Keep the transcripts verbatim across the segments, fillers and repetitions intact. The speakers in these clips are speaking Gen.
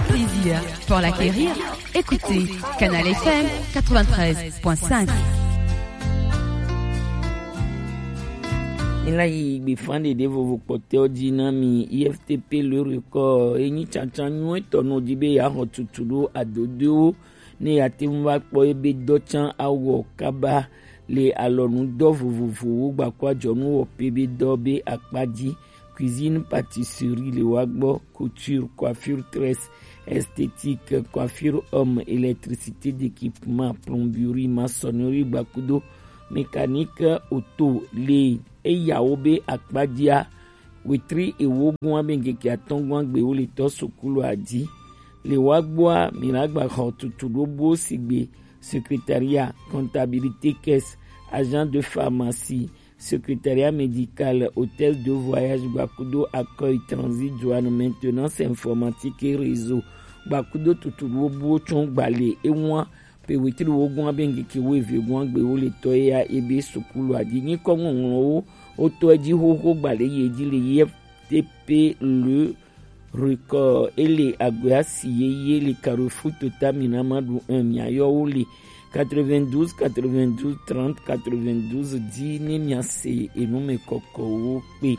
Plaisir pour l'acquérir. Écoutez Canal F M quatre-vingt-treize point cinq. Ela yi gbefa ɖeɖe vovo kpɔtɔ ji na mi. I F T P Le Record, enyi tsantsan nyuitɔ nɔ di be ya xɔ tutu ɖo adodoewo ne ya te ŋu va kpɔ ebe dɔ tsan awɔ kaba le alɔnudɔ vovovowo gbakua jɔnu wɔ pe be dɔ be akpa ji. Cuisine, pâtisserie le wa gbɔ, couture, coiffure, tresse, esthétique, coiffure homme, électricité d'équipement, plomberie, maçonnerie, gbakudo, mécanique, auto le eyawo be akpajia. Wetri ewo gua be ŋkeke atɔ̃ gua gbe wo le tɔ sukulu adi. Le wa gbɔa, mi la gba xɔ tutu ɖo bo sigbe secrétariat, comptabilité, caisse, agent de pharmacie, secrétariat médical, hôtel de voyage, gbakudo accueil, transit, douane, maintenance informatique et réseau, gbakudo tutu ɖo bo tsɔn gbale ewa pe wetri wo gua be ŋkeke wo eve gua gbe wo le tɔ ya ebe sukulu adi nyi kɔ ŋɔŋlɔ wo wo tɔ edzi xoxo gbale ye dzi le ye T P Le Record. Ele agbea si ye ye le Carrefour Total Minamadu un, miayɔ wo le quatre-vingt-douze quatre-vingt-douze trente quatre-vingt-douze di ne miase enume kɔkɔwo kpe.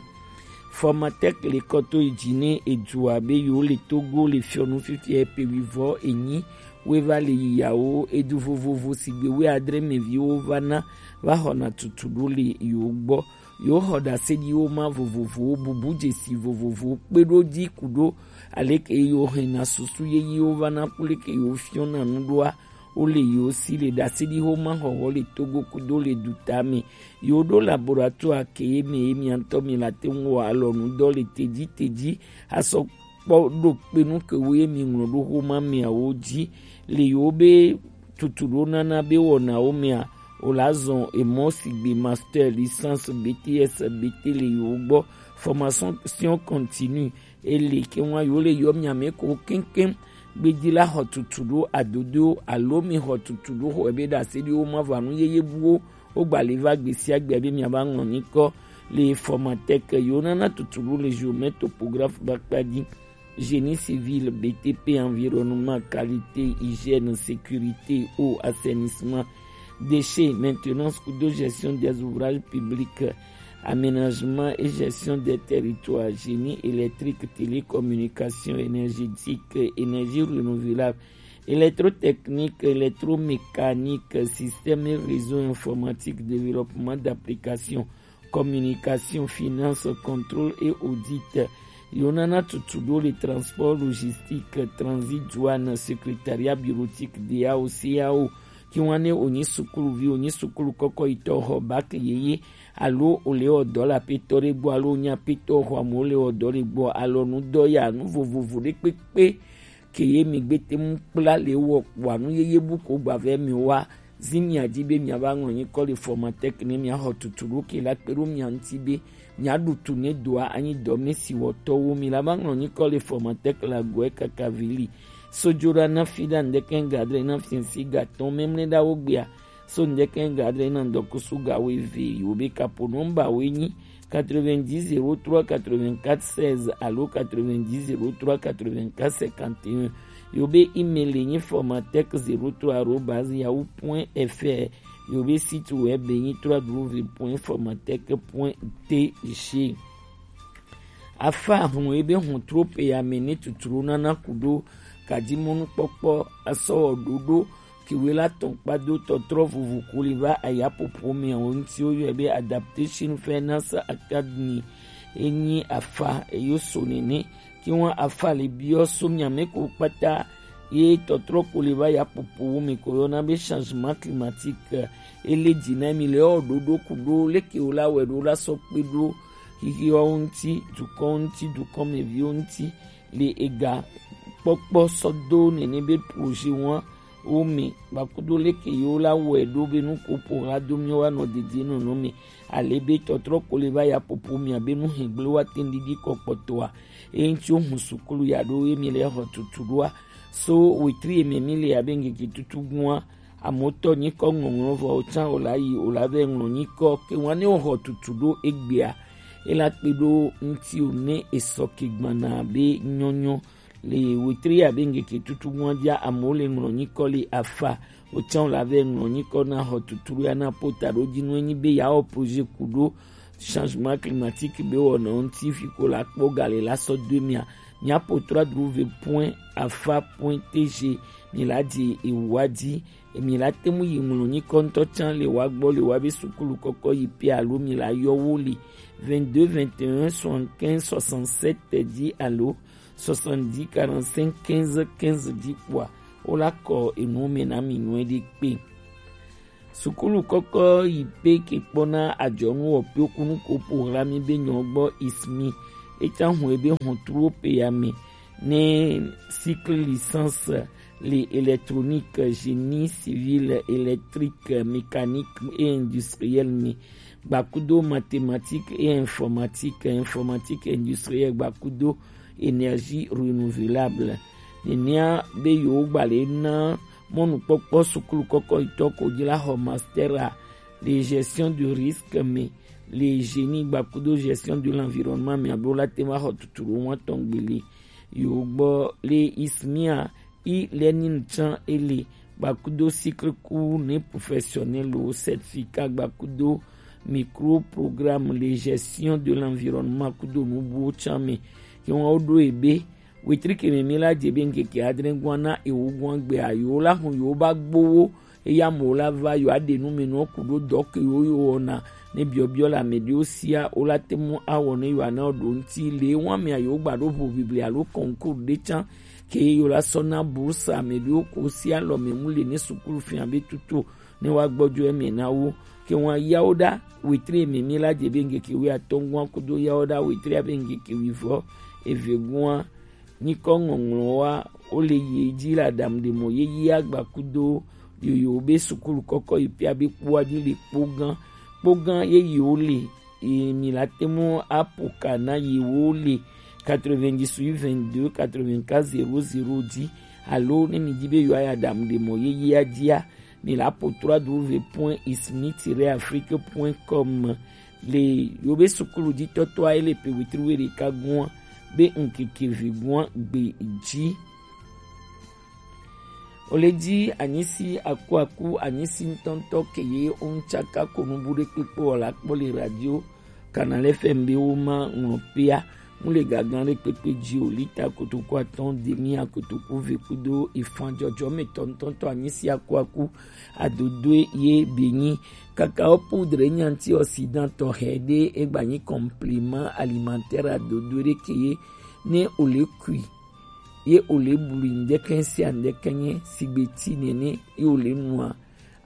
Formatec le kɔto yi dzi ne edua be yewo le Togo le fiɔnu fifia pe wivɔ enyi weva le yiyawo edu vovovo sigbe wui adre mɛviwo va na va xɔna tutu ɖo le yewo gbɔ. Yewo xɔ ɖaseɖiwo ma vovovowo, bubu dzesi vovovowo kpe ɖo dzi ku ɖo aleke yewo hɛna susu yeyiwo va na ku leke yewo fiɔna nu ɖoa. Wo le yewo si le ɖaseɖi xoma xɔxɔ le Togo kudo le duta me. Yewo ɖo laboratoire ke ye me ye mia ŋutɔ mi la te ŋu wɔ alɔnu dɔ le teji teji asɔ kpɔ ɖo kpe nu ke wo ye mi ŋlɔ ɖo xoma meawo dzi le yewo be tutu ɖo nana be wɔnawo mea, wo la zɔn emɔ sigbe master, licence, B T S, B T le yewo gbɔ, formation continue. Ele ke ŋua yewo le yɔ mia me ko keŋkeŋ gbedi la xɔ tutu ɖo adodo alo mi xɔ tutu ɖo xɔ ebe ɖase ɖi wo ma va nu yeye buwo wo gba le va gbe sia gbe be mia va ŋlɔ nyikɔ le Formatec yewo nana tutu ɖo le géomètre topographe ba kpa dzi. Génie civil, B T P, environnement, qualité, hygiène, sécurité, eau, assainissement, déchets, maintenance kudo gestion des ouvrages publics, aménagement et gestion des territoires, génie électrique, télécommunication, énergétique, énergie renouvelable, électrotechnique, électromécanique, système et réseau informatique, développement d'applications, communication, finance, contrôle et audit. Yewo nana tutu ɖo le transport, logistique, transit, douane, secrétariat bureautique, D A O, C A O. Ki wan ne wonyi sukuluvi, wonyi sukulu kɔkɔ yi tɔ xɔ bac yeye alo wole wɔ dɔ le aƒetɔ ɖe gbɔ alo wonyi aƒetɔ xɔ amewo le wɔ dɔ le gbɔ, alɔnu dɔ ya nu vovovo ɖe kpekpe ke ye mi gbe te ŋu kpla le wɔ kpɔa nu yeye bu ko gba vɛ mi wa. Zi mia dzi be mia va ŋlɔ nyikɔ le Formatec ne mia xɔ tutu ɖo ke la kpe ɖo mia ŋuti be mia ɖu tu ne doa anyi dɔ me si wɔtɔwo mi la va ŋlɔ nyikɔ le Formatec la gɔe kaka vili. Sojoɖa na fi ɖa ŋdɛkɛ gadre na fiɛnsi gatɔn memle ɖa wo gbea. So ŋdɛkɛ gadre na ŋdɔkusu ga wo eve yi wo be kapo nɔmba wo nyi quatre-vingt-dix zéro trois quatre-vingt-quatre seize alo quatre-vingt-dix zéro trois quatre-vingt-quatre cinquante et un. Yo be email nyi formatec zéro trois arobase yahoo point F R. Yo be site web nyi trois W point formatec point T G. Afa hun ebe hun trope ya me ne tuturo nana kudo kadimonu kpɔkpɔ asɔ ɖoɖo kiwe la tɔn kpado tɔtrɔ vuvu kuli va ayapopo me wo ŋuti wo yɔe be Adaptation Finance Academy. Enyi afa eyo so nene ki wan afa le biɔ so miame ko kpata ye tɔtrɔ kuli va yapopo wo me ko yɔna be changement climatique. Ele dzi na mi le ɔ ɖoɖo kudo leke wo la wɛ ɖo la sɔ kpe ɖo xixiwo ŋuti, dukɔ ŋuti, dukɔmeviwo ŋuti, le ega kpɔkpɔ sɔ do nene be projet wan wo me gbakudo leke yewo la wɔe ɖo be nu ko po la do mi wa nɔ dede nɔnɔ me. Ale be tɔtrɔ ko le va ya popo mia be nu hegble wa teŋ didi kɔ kpɔtɔa. Eŋtsi wo hun sukulu ya ɖo ye mi le xɔ tutu ɖoa. So wetri eme mi le abe ŋgege tutu gua. Amewo tɔ nyikɔ ŋɔŋlɔ vɔ wotsã wòla yi wòla vɛ ŋlɔ nyikɔ ke wan ne woxɔ tutu ɖo egbea. Ela kpe ɖo ŋuti wo ne esɔ ke gbana be nyɔnyɔ Le wetri abe ngeke tutu ŋua dia amewo le ŋlɔ nyikɔ le afa. Wotsã wo la vɛ ŋlɔ nyikɔ na xɔ tuturu ya na pota ɖo dzi nu enyi be ya wɔ projet ku ɖo changement climatique be wɔna ŋuti fi ko la kpɔ ga le la sɔ do mia. Mia po trois w point afa point t g mi la di ewa di mi la te ŋu yi ŋlɔ nyikɔ ŋutɔ tsã le wa gbɔ le wa be sukulu kɔkɔ yi pe alo mi la yɔ wo le vingt-deux vingt et un soixante-quinze soixante-sept di alo soixante-dix quarante-cinq quinze quinze di kpɔa, wo la kɔ enu me na mi nyuie ɖe kpe. Sukulu kɔkɔ yi pe ke kpɔna adzɔnu wɔƒewo kunu ko programme be nyɔ gbɔ ismi. Etsã hɔn ebe hɔn tuwo pe ya me ne cycle licence le électronique, génie civil, électrique, mécanique et industriel me. Gbakudo mathématique et informatique, informatique industrielle, gbakudo énergie renouvelable. Nenea be yewo gba le na mɔnukpɔkpɔ sukulu kɔkɔ yitɔ ko dzi la xɔ master a le gestion du risque me le génie gbakudo gestion de l'environnement me abe wo la te va xɔ tuturu wa tɔn gbele yewo gbɔ le ismia e-learning tsã ele gbakudo cycle cours ne professionnel o certificat gbakudo micro programme le gestion de l'environnement kudo nubuwo tsã me. Ke wọn wo ɖo ebe wetri ke me mi la dze be ŋkeke adre gua na ewo gua gbe ayo la hun yo ba gbowo eya mo la va yo aɖe nu me nu ku ɖo dɔ ke yo yo wɔna ne biɔbiɔ le ame ɖewo sia wo la te mu awɔ ne yo ana ɖo ŋuti le wa me ayo gba ɖo ʋu bibli alo concours ɖe tsã ke yo la sɔ na bourse ame ɖewo ko si alɔ me mu le ne sukulu fia be tuto ne wa gbɔdzo eme na wo ke wa yawo ɖa wetri me mi la dze be ŋkeke wi atɔngua kudo yawo ɖa wetri abe ŋkeke wi vɔ eve gua nyikɔ ŋɔŋlɔ wa wo le yi dzi le aɖaŋu ɖe mɔ yeye agba kudo yoyo be sukulu kɔkɔ yi pia be kpoa dzi le kpogã kpogã yeye wo le ye mi la te mu apo ka na ye wo le quatre-vingt-dix-huit vingt-deux quatre-vingt-quatre zéro zéro dzi alo ne mi dzi be yewoa yi aɖaŋu ɖe mɔ yeyea dzia mi la po trois w point ismi tiret afrique point com le yewo be sukulu dzi tɔtɔa ele pe wetri we ɖeka gua be ŋkeke ve gua gbe dzi. Ole dzi anyisi akuaku anyisi ŋutɔŋutɔ ke ye ŋutsaka ko nubu ɖe kpekpe wɔ la kpɔ le radio Canal F M be wo ma ŋlɔ pea mu le gagan ɖe kpekpe dzi o lita kotoku atɔn demi akotoku ve kudo ifan dzɔdzɔme tɔntɔntɔ anyisi akuaku adodoe ye be nyi kakao poudre nyi antioxydant tɔxɛ ɖe egba nyi complément alimentaire adodoe ɖe ke ye ne ole kui ye ole blui ŋdɛkɛ sia ŋdɛkɛ nye sigbe ti nene ye ole nua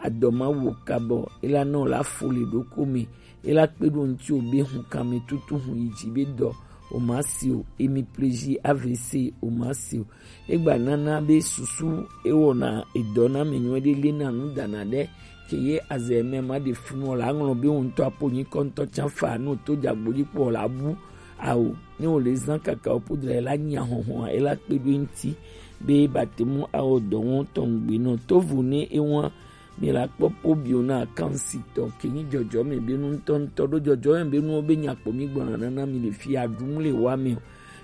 adɔ ma wo kabɔ ela nɔ la fo le ɖoko me ela kpe ɖo ŋti o be hun kame tutu hun yi dzi be dɔ o ma si o emi pleji A V C o ma si o egba nana be susu ewɔna edɔ na me nyuie ɖe le na nu dana ɖe ke ye azɛ mɛ ma ɖe funu o la ŋlɔ be wo ŋutɔ apo nyi kɔ ŋutɔ tsa fa no to dzagbodzi kpɔ o la bu awo ne o le zan kaka o podra ela nyi ahɔhɔn ela kpe ɖo ŋti be batemu awɔ dɔ wɔn tɔn gbe nɔ tovo ne ewa mi la kpɔ pobiona kansitɔ ke nyi dzɔdzɔme be nu ŋutɔŋutɔ ɖo dzɔdzɔme be nuwo be nyakpɔ mi gbɔna nana mi le fi aɖum le wa me o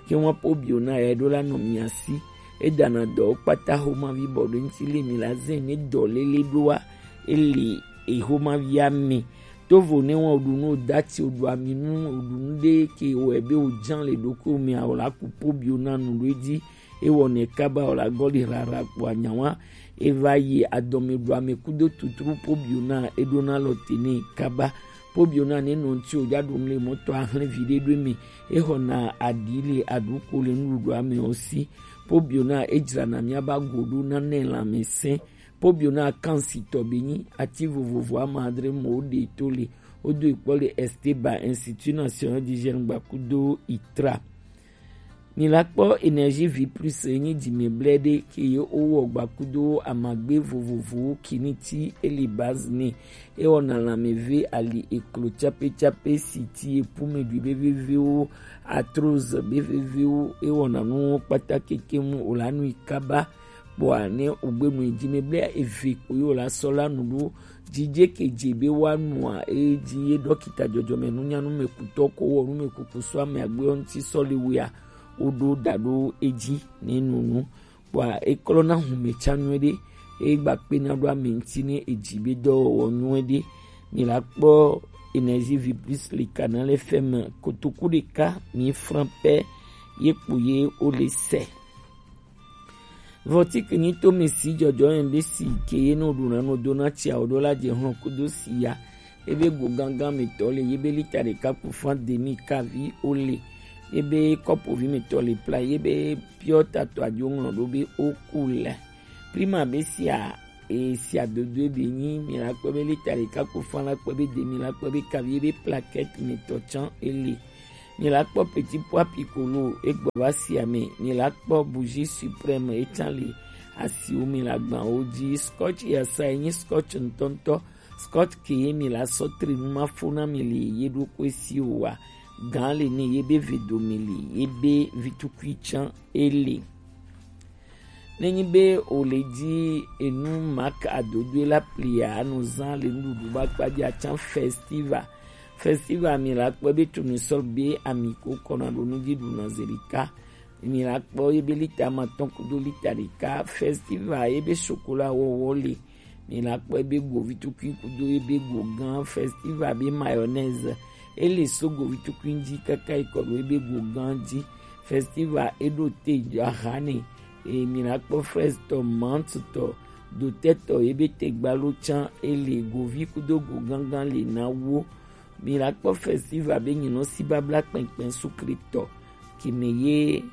ke wa pobiona ya ɖo la nɔ mia si edana dɔwo kpata xomavi bɔ ɖo ŋti le mi la zɛ ne dɔ lele ɖoa ele exomavia me tovo ne wa oɖu nu odati oɖu ami nu oɖu nu ɖe ke wɔ ebe ojan le ɖoko me o la ku pobiona nu ɖo edzi ewɔnɛ kaba o la gɔli rara kpo anyawa eva yi adɔme ɖu ame kudo tuturu pobiona eɖona lɔ te ne kaba pobiona ne nɔ ŋti o dza ɖo nu le mɔtɔ ahlɛ vi ɖe ɖo eme exɔna aɖi le aɖuko le nuɖuɖu ame o si pobiona edzrana miaba go ɖo nane lãmesẽ pobiona kansitɔ be nyi ati vovovo ama adre mɔ wo ɖe to le wodo ekpɔ le Esteba Institut National d'Hygiène gbakudo itra. Mi la kpɔ Energie Vie Plus enyi dzime blɛ ɖe ke ye wowɔ gbakudo amagbe vovovowo kiniti eli base ne ewɔna lãmeve ali eklo tsape tsape siti epume ɖui be vevewo arthrose be vevewo ewɔna nuwo kpata keke mu wòla nui kaba kpɔa ne wògbe nu yi dzime blɛ eve ko ye wòla sɔ la nu ɖo dzidze ke dze be woanua eye dzi ye ɖɔkita dzɔdzɔme nunyanu me kutɔ ko wɔ nu me kuku sɔ ame agbe ŋuti sɔ le wea woɖo da ɖo edzi ne nunu. Kpɔa eklɔna hume tsa nyuiɖe, eye gba kpena ɖo ame ŋuti ne edzi be dɔwɔwɔ nyuiɖe. Mi la kpɔ Energie Vie Plus le Canal F M kotoku ɖeka mi fran pɛ ye kpo ye wo le sɛ. Vɔtik nyi to mi si jɔjɔ yɛn be si ke ye no ɖuna no dona tsia o ɖo la je hlɔn kudo si ya. Ebe go gangan mi tɔ le, yebe lita ɖeka ku fan demi kavi o le. Ebe kɔpo vi mi tɔ le pla, yebe piɔ tatɔ ajo ŋlɔ ɖo be o ku le. Prima be sia, e sia dodo ebe nyi mi la kpɔ be lita ɖeka ku fan la kpɔ be demi la kpɔ be kavi ebe plaquette mi tɔ tsan ele. Mi la kpɔ petit pois piccolo egbɔ va sia me. Mi la kpɔ bougie suprême etsan le asiwo mi la gban wo dzi. Scotch yasa enyi scotch ŋutɔŋutɔ. Scotch ke ye mi la sɔ tri nu ma fo na mi le ye ɖo ko esi o wa. Gan le ne ye be vedo mi le ye be vitukui tsan ele. Nenyi be o le dzi enu mak adodoe la plia, anu zan le nuɖuɖu ba kpadzi atsan festival. Festival mi la kpɔ be tournesol be ami ko kɔna ɖo nu dzi ɖuna ze ɖeka. Mi la kpɔ ye be lita ma tɔn kudo lita ɖeka. Festival ye be chocolat wɔwɔ le. Mi la kpɔ ebe govi tukui kudo ebe go gan. Festival be mayonnaise. Ele so govi tukui dzi kaka yi kɔ ɖo ebe go gan dzi. Festival eɖo te aha ne. E mi la kpɔ fraise tɔ, menthe tɔ, dotɛ tɔ, ebe te gbalo tsan ele govi kudo go gangan le na wo. Mi la kpɔ festival be nyinɔ si babla kpɛnkpɛn sukle tɔ. Kime ye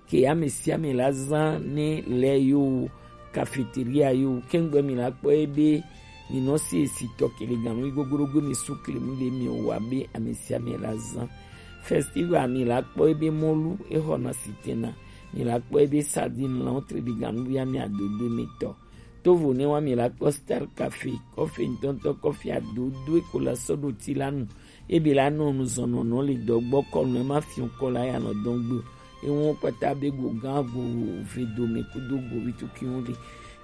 ke ame sia ame la zã ne lɛ yo, cafeteria yo, kɛngbɛ mi la kpɔ ebe mi nɔ si esi tɔ kele ganu yi gogorogo mi su klemu le mi wa be ame sia ame la zã. Festival mi la kpɔ ebe mɔlu exɔna sitena, mi la kpɔ ebe sardine la wotre ɖi ganu ya mi adodo mi tɔ. Tovo ne wa mi la kpɔ Star Cafe, kɔfe ŋutɔŋutɔ kɔfe adodo eko la sɔ ɖo ti la nu. Ebe la nɔ nuzɔnɔnɔ le dɔgbɔ kɔnu ema fiɔ kɔ la ya nɔ dɔn gbe. Ewo kpata be go gan go ve dome kudo go vitukiwo le.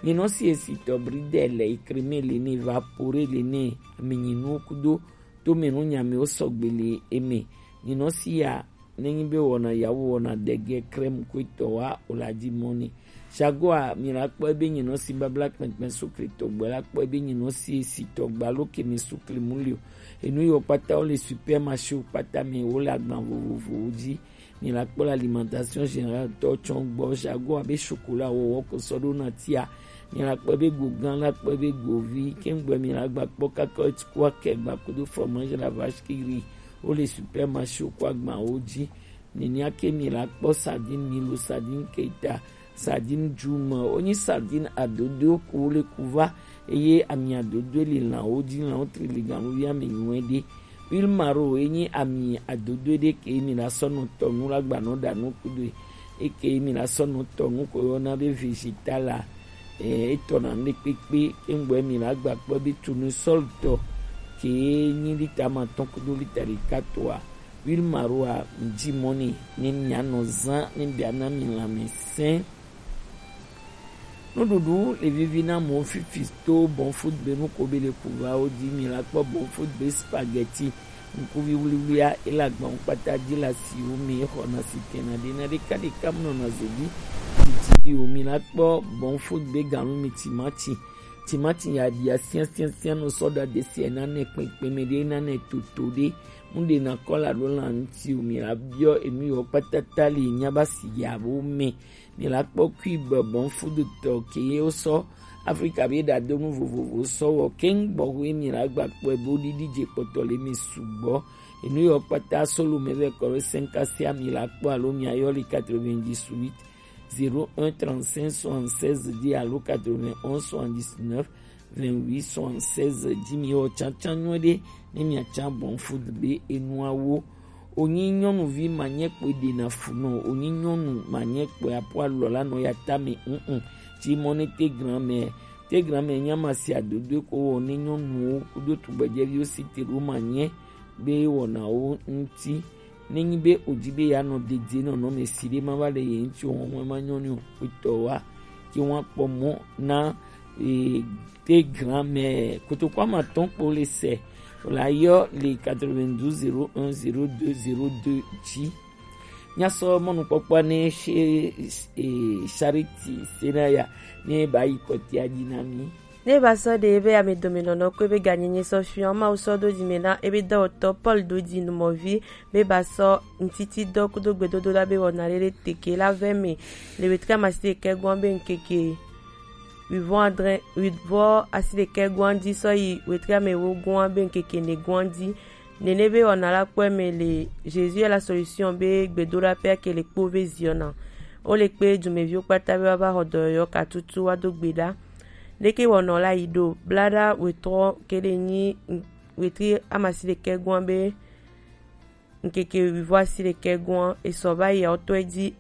Mi nɔ si esi tɔ bridel le, crème le ne, vapore le ne, mi nyi nu kudo to me nu nya mi wo sɔgbe le eme. Mi nɔ si ya ne nyi be wɔna yawo wɔna dege crème ko etɔ wa o la di mɔ ne. Jaguar, mi la kpɔ ebe nyi nɔ si babla kpɛnkpɛn sukli tɔgbɛ la kpɔ ebe nyi nɔ si esi tɔgba lo ke mi sukli mu li o. Enu yiwo kpata wo le supermarché wo kpata mi wo le agban vovovowo dzi. Mi la kpɔ le alimentation générale tɔ tsɔ gbɔ. Jaguar be chocolat wɔwɔ ko sɔ ɖo na tia. Mi la kpɔ ebe go gan la kpɔ ebe go vi. Kɛngbɛ mi la gba kpɔ kaka ko akɛ gba kudo fromage la vache qui rit wo le supermarché wo ko agban wo dzi. Nenia ke mi la kpɔ sardine Milo, sardine Keita, sardine Juma, wonyi sardine adodo ko le kuva, eye ami adodo le lãwo dzi, lãwo tri le ganuvi ame nyuie ɖe. Huile maro enyi ami adodo ɖe ke mi la sɔ nɔ tɔ nu la gba nɔ ɖa nu kudo e ke mi la sɔ nɔ tɔ nu ko yɔna be vegetal la. Eh, etɔ na ne kpekpe, engbɔ mi la gba kpɔ be tournesol tɔ ke nyi lita ma tɔn kudo lita ɖeka toa. Huile maro a ŋdi mɔ ni ne mia nɔ zã ne bia na mi lãmesẽ. Nuɖuɖu le vivi na mɔ fifi to Bon Food be nu ko be le kuva wo dzi mi la kpɔ Bon Food be spaghetti ŋkuvi wliwlia ele agbawo kpata dzi le asiwo mi exɔna si tena ɖe na ɖeka ɖeka mu nɔna zo dzi. Titi bi wo mi la kpɔ Bon Food be ganu mi timati. Timati ya ɖia sia sia sia nɔ sɔ ɖa de sia na ne kpekpe me ɖe na ne toto ɖe. Mu ɖe na kɔla ɖo la ŋuti o mi la biɔ enu yɔ kpata ta li nya ba si ya bo me. Mi la kpɔ kui be Bon Food tɔ ke ye wo sɔ Afrika be ɖadonu vovovo sɔ wɔ keŋ gbɔ hu mi la gba kpɔe bo ɖiɖi dze kpɔtɔ le mi sugbɔ. Enu yɔ kpata solo me vɛ kɔ ɖo cinq asia mi la kpɔ alo mi ayɔ li quatre-vingt-dix-huit zéro un trente-cinq soixante-seize dix alo quatre-vingt-onze soixante-dix-neuf vingt-huit soixante-seize dzi mi wɔ tsantsan nyuie ɖe ne mia tsan Bon Food be enuawo. Onyi nyɔnuvi manyɛ kpɔe ɖena fu nɔ, onyi nyɔnu manyɛ kpɔe apo alɔ la nɔ ya ta mi ŋŋ. Tsi mɔ ne te grand mɛ, te grand mɛ nya ma si adodo ko wɔ ne nyɔnuwo kudo tugbedzɛviwo si te ɖo manyɛ be wɔnawo ŋuti. Ne nyi be o dzi be ya nɔ dedie nɔnɔme si ɖe ma va le ye ŋuti o, hɔn ma nyɔ ni o. Kpetɔ wa ke wa kpɔ mɔ na e, te grand mɛ kotoko ama tɔn kpo le sɛ o la yɔ le quatre-vingt-douze zéro un zéro deux zéro deux dzi. Nyasɔ mɔnukpɔkpɔ ne she e, Charity Senaya ne ba yi kɔtia dzi na mi. Ne ba sɔ ɖe ebe ame dome nɔnɔ ko ebe ganyenye sɔ fiɔ Mawu sɔ do dzi me na ebe dɔwɔtɔ Paul do dzi numɔvi be ba sɔ ŋtiti dɔ kudo gbedodo la be wɔna ɖe ɖe teke la vɛ me le wetri amasi ɖekɛ gbɔn be ŋkeke wivɔn adre wivɔ asi ɖekɛ gbɔn dzi sɔ yi wetri ame wo gbɔn be ŋkeke ne gbɔn dzi. Nene be wɔna la kpɔe me le Jésus est la solution be gbedoɖaƒea ke le kpo ve ziɔna. Wo le kpe dumeviwo kpata be woava xɔ dɔyɔyɔ katutu woado gbe ɖa. Leke wɔnɔ la yi ɖo? Blaɖa wetɔ ke ɖe nyi wetri amasi ɖekɛ gɔn be ŋkeke wivɔ asi ɖekɛ gɔn esɔ va yi awotɔe dzi